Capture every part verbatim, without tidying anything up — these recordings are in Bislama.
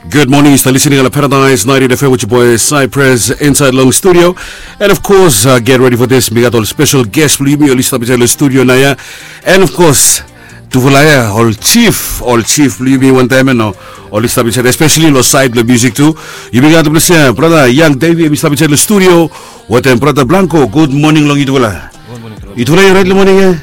Gud moning, yu stap listening long Paradise ninety-eight F M with your boy Cypress inside long studio. And of course, uh, get ready for this. Mi gat ol special guest blong yumi oli stap inside long studio naoia. And of course, tufala ia ol chief, ol chief blong yumi wantaem ia no, oli stap inside, especially long side long music tu. Yumi gat blong se brother Young Davy, hemi stap inside long studio. Wetem brother Blanco, gud moning long yutufala. Yutufala yu orait long moning ia?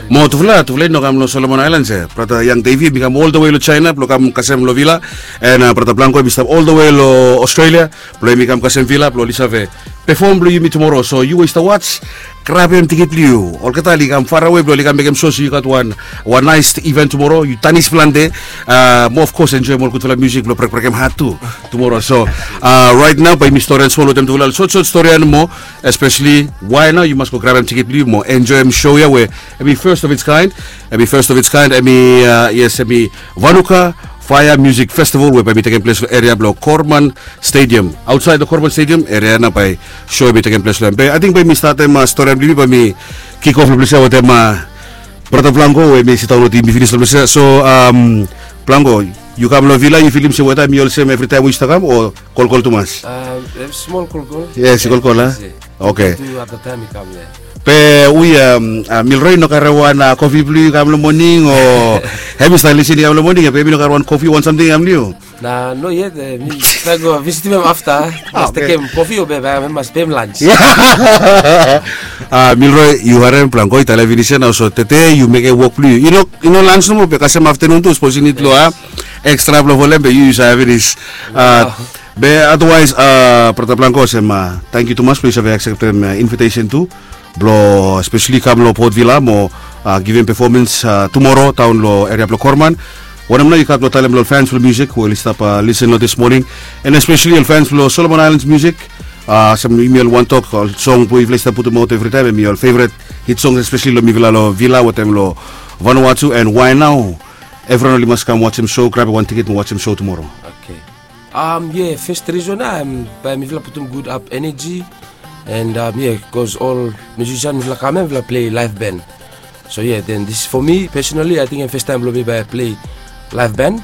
Mo tufala, tufala i no kam long Solomon Islands ia. Brother Young Davy hemi kam all the way long China blong kam kasem long Villa. And uh, brother Blanco hemi stap all the way long Australia blong hemi kam kasem Villa blong oli save perform blong yumi tumoro. So yu we yu stap watch, grabem tikit blong yu. Olgeta oli kam farawe blong oli kam mekem sua se yu gat wan, wan nice event tumoro. Yu tanis plante. Uh, mo of course enjoem ol gudfala music blong brekbrekem hat tu tumoro. So uh, right now bae yumi storian smol wetem tufala, ol sotsot storian mo. Especially why nao yu mas go grabem tikit blong yu mo enjoem show ia we hemi first of its kind. Hemi first of its kind, hemi uh, yes, hemi Vanuka Fire Music Festival we bae hemi tekem ples long eria blong Korman Stadium. Ausait long Korman Stadium eria ia nao bae show hemi tekem ples long hem. Be ating bae yumi statem uh, storian blong yumi, bae yumi kick off long ples ia wetem uh, brother Blanco we hemi sindaon wetem yumi finis long ples ia. So um, Blanco, yu kam long Villa, yu filim se weta hemi olsem evritaem we yu stap kam o kolkol tumas? Smol kolkol. Yes, kolkol a. Okay. Be ui, um, uh, Milroy i no karem wan uh, kofi blong yu kam long moning o? Hemi stap lisin i kam long moning ia, be hemi no karem wan kofi, wan samting i kam long yu? Na no yet, eh, mi trae go visitim hem afta. Mas tekem kofi o be bae hem mas pem lans. Ah, Milroy, yu harem, Blanco i talem finis ia nao, so tede yu mekem wok blong yu. I no, i no lans nomo be kasem aftenun tu, sapos yu nid long a ekstra blong folem be yu yu save finis. Ah, be otherwise, ah, brother Blanco, olsem, ah, tangkiu tumas blong yu save akseptem, ah, invitesen tu blong especially kam long Port Vila mo, ah, givim performance, ah, tumoro daon long eria blong Korman. Wanem nao yu gat blong talem long ol fans blong music we oli stap, ah, listen long this morning, and especially ol fans blong Solomon Islands music? Ah, olsem yumi oli wantem tok, ol song blong yufala i stap putumaot evritaem hemi ol favourite hit songs, especially long mifala long Vila wetem long Vanuatu, and why nao evriwan oli mas kam wajem show, grabem wan tiket mo wajem show tumoro? Okay. Um, yeah, first reason, um, bae mifala putum gud ap energy. And um, yeah, bikos ol musician mifala kam ia mifala plei live band. So yeah, then this for me personally, I think hem first taem blong mi bae plei live band.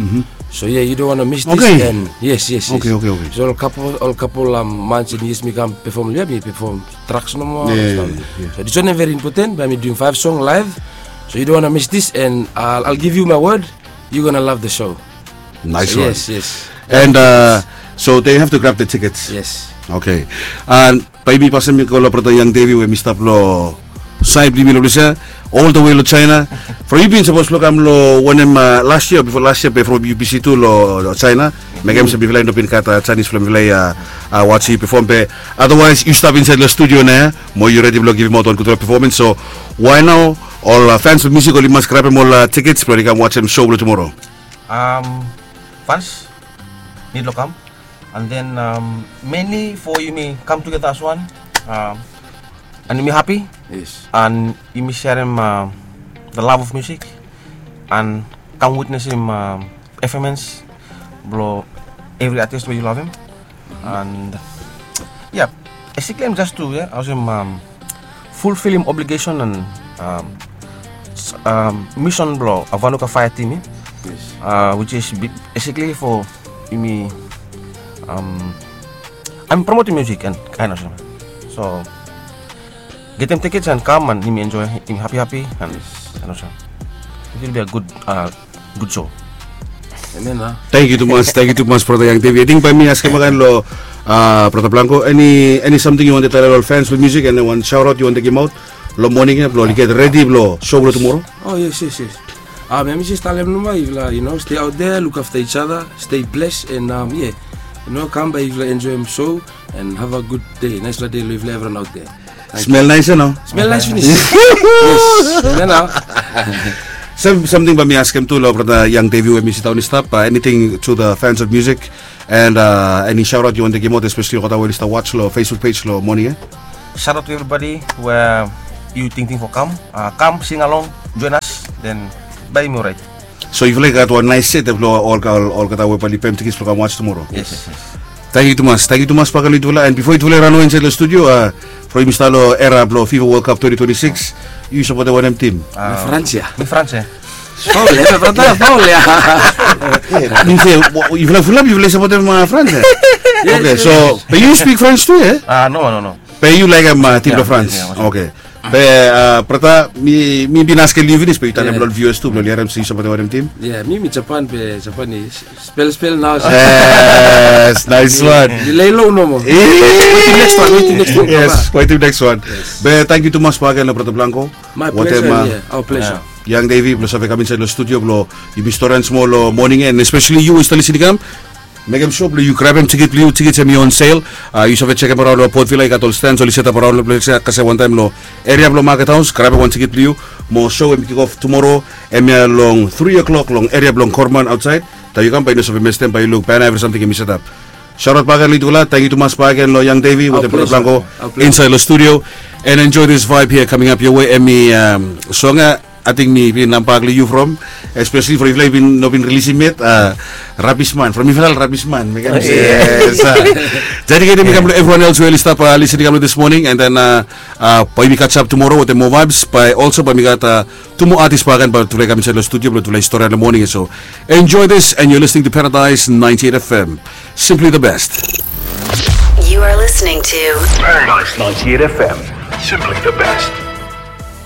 So yeah, you don't wanna miss this. Okay. And yes, yes, yes. Okay, okay, okay. So ol kapol, ol kapol, um, months and years mi kam perform long ia, mi perform tracks nomo. Yeah, yeah, yeah. So this one very important, bae mi duim five song live. So you don't wanna miss this, and I'll, I'll give you my word, you gonna love the show. Nice one. Yes, yes. And uh, so they have to grab the tickets. Yes. Okay. And bae mi pasem i go long brother Young Davy we hemi stap long saed blong yumi long ples ia, all the way long China. From yu bin sapos blong kam long wanem, uh, last year, bifo last year, be from yu bisi tu long, long China. Mekem se mifala i no bin gat, uh, janis blong mifala i, uh, uh, wajem yu perform, be otherwise yu stap insaed long studio nao ia mo yu redi blong givimaot wan gudfala performance. So why nao ol, uh, fans blong music oli mas grabem ol, uh, tickets blong oli kam wajem show blong tumoro? Um, fans nid long kam. And then, um, mainly for yumi kam tugeta as wan, um, and yumi hapi. Yes. And yumi serem, um, the love of music and kam witnesim, um, performance blong evri artist we yu lavem. And yeah, basically hem just tu, yeah, olsem, um, fulfilim obligation and, um, s- um, mission blong, uh, Vanuka Fire team ia. Yes. Uh, which is bi- basically for yumi, um, I'm promoting music and kind of, so getem tickets and kam and yumi enjoy, yumi hapi hapi and, and olsem it will be a good, uh, good show. Amen, ah. Tangkiu tumas, tangkiu tumas brother Young Davy. Ating bae mi askem agen long, uh, brother Blanco, eni, eni samting yu wantem talem long ol fans blong music, eni wan shout out yu wantem givimaot long moning ia blong oli get redi blong show blong tumoro? Oh yes, yes, yes. Um, bae mi jes talem nomo, yufala, you know, stay out there, look after each other, stay blessed, and um, yeah, you know, kam bae yufala enjoem show and have a good day. Naesfala dei long yufala evriwan out there. Smel naes ia nao? Smel naes finis. Yes. Smel nao. Sam- samting bae mi askem tu long brother Young Davy we hemi sindaon i stap, uh, anything to the fans of music and, uh, eni shout out yu wantem givimaot, especially olgeta we oli stap watch long Facebook page long moning ia? Shout out to everybody we yu tingting for kam, uh, kam sing along, join us, then bae yumi orait. So yufala i gat wan naes set blong ol, ol, olgeta we bae oli pem tickets blong kam watch tumoro? Yes, yes, yes. Tangkiu tumas, tangkiu tumas bakegen long yutufala. And bifo yutufala i ranwe insaed long studio, uh, from yumi stap long era blong FIFA World Cup twenty twenty-six, yu sapotem wanem tim? Uh, France ia. Mi France ia. Faul ya, brata, faul ya. Min se, yufala fulap yufala i sapotem France ya? Yes, okay, yes, so, yes. But you speak French too, eh? Ah, no, no, no. Be yu laekem tim blong Frans. Oke. Be brata, mi bin askem yu finis be yu talem long ol viewers tu blong ol i harem se yu sapotem wanem tim? Ya, mi mi Japan be Japanese. Spel spel nao. Yes, nice one. Yu lei lo nomo. Wetim next one, wetim next one. Yes, wetim next one. Be tangkiu tumas bakegen long brata Blanco. My pleasure. Yang Davy blong save kam insaed long studio blong yumi storian smol long moning ya, and especially yu we yu stap lisin i kam. Mekem sua blong yu grabem tikit blong yu, tikit hem i on sel. Yu save jekem araon long Port Vila, i gat ol stens oli setap araon long ples ya, kasem wantaem long eria blong Market House, grabem wan tikit blong yu. Mo so hem i kikof tumoro, hemia long tri o'clock long eria blong Korman aotsaed. Taem yu kam bae yu no save mestem, bae yu luk bana evri samting hem i setap. Saot bakegen long yutufala, tangkiu tumas bakegen long Yang Davy wetem brata Blanco insaed long studio. And enjoy this vibe here coming up your way, hemi song ya. Ating mi bin nambak long yu from, especially from yufala i bin no bin rilisim yet. Rabisman from yufala, Rabisman. Mekem se yes. Dediketem i kam long evriwan els we oli stap lisin i kam long this morning, and then bae yumi kasem tumoro wetem moa vibes, bae also bae yumi gat tu moa atis bakegen bae tufala i kam insaed long studio blong tufala i storian long moning ya. So enjoy this, and you're listening to Paradise ninety-eight F M. Simply the best. You are listening to Paradise ninety-eight F M. Simply the best.